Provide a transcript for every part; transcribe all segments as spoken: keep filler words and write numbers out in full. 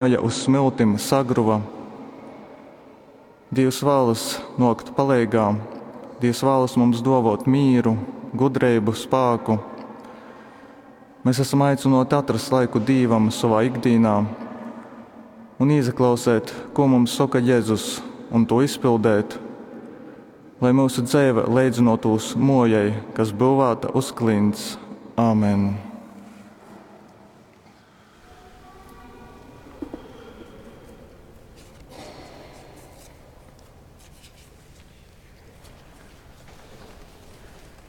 Uz smiltim sagruva. Dīvs vālas nōkt paleigā, Dīvs vālas mums dōvōt mīru, gudreibu, spāku. Mēs esam aicynōti atrast laiku Dīvam sovā ikdīnā un īsaklausēt, ko mums soka Jezus, un to izpildēt, lai myusu dzeive leidzynōtūs mōjai, kas byuvāta uz klints. Amen.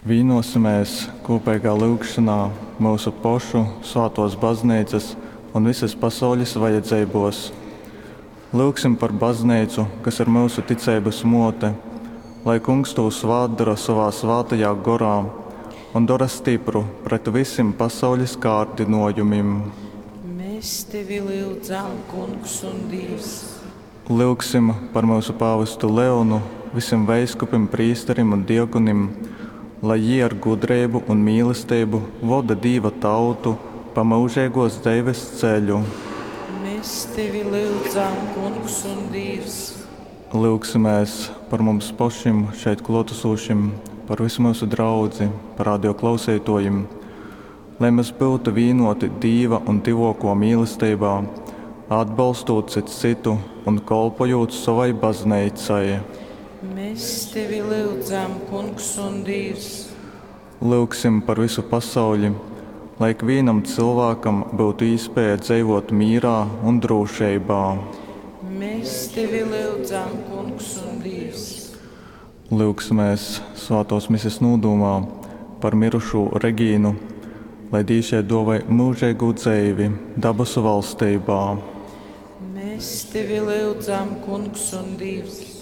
Vīnosimies kūpeigā lyugšanā myusu pošu svātōs bazneicas un visas pasaules vajadzeibōs. Lyugsim par bazneicu, kas ir myusu ticeibas mōte, lai Kungs tū svātdora sovā svātajā gorā un dora stipru pret visim pasaules kārdynōjumim. Mēs tevi lyudzam, Kungs un Dīvs. Lyugsim par myusu pāvestu Leonu, visim veiskupim, prīsterim un diakonim, lai jī ar gudreibu un mīlesteibu voda Dīva tautu pa myužeigōs dzeives ceļu. Mēs tevi lyudzam, Kungs un Dīvs. Lyugsimēs par mums pašim šeit klōtasūšim, par visu myusu draudzi, par radio klausītājiem, lai mēs būtu vīnoti Dīva un tyvōko mīlesteibā, atbalstot cits citu un kolpojot savai bazneicai. Mēs tevi lyudzam, Kungs un Dīvs. Lyugsim par visu pasauli, lai ikvienam cilvēkam būtu īspēja dzīvot mīrā un drošībā. Mēs tevi lyudzam, Kungs un Dīvs. Lyugsimies svētās mises nūdomā par mirušū Regīnu, lai Dīvs jai dōvoj mūžīgu dzeivi dabasu valstībā. Mēs tevi lyudzam, Kungs un Dīvs.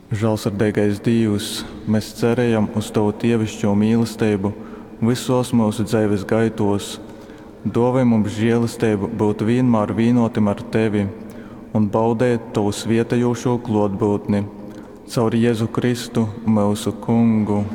Žēlsirdīgais Dīvs, mēs cerējam uz Tavu dievišķo mīlestību visos mūsu dzīves gaitos. Dāvā mums žēlastību būt vienmēr vienotim ar Tevi un baudīt Tavu svietējošo klātbūtni caur Jēzu Kristu, mūsu Kungu.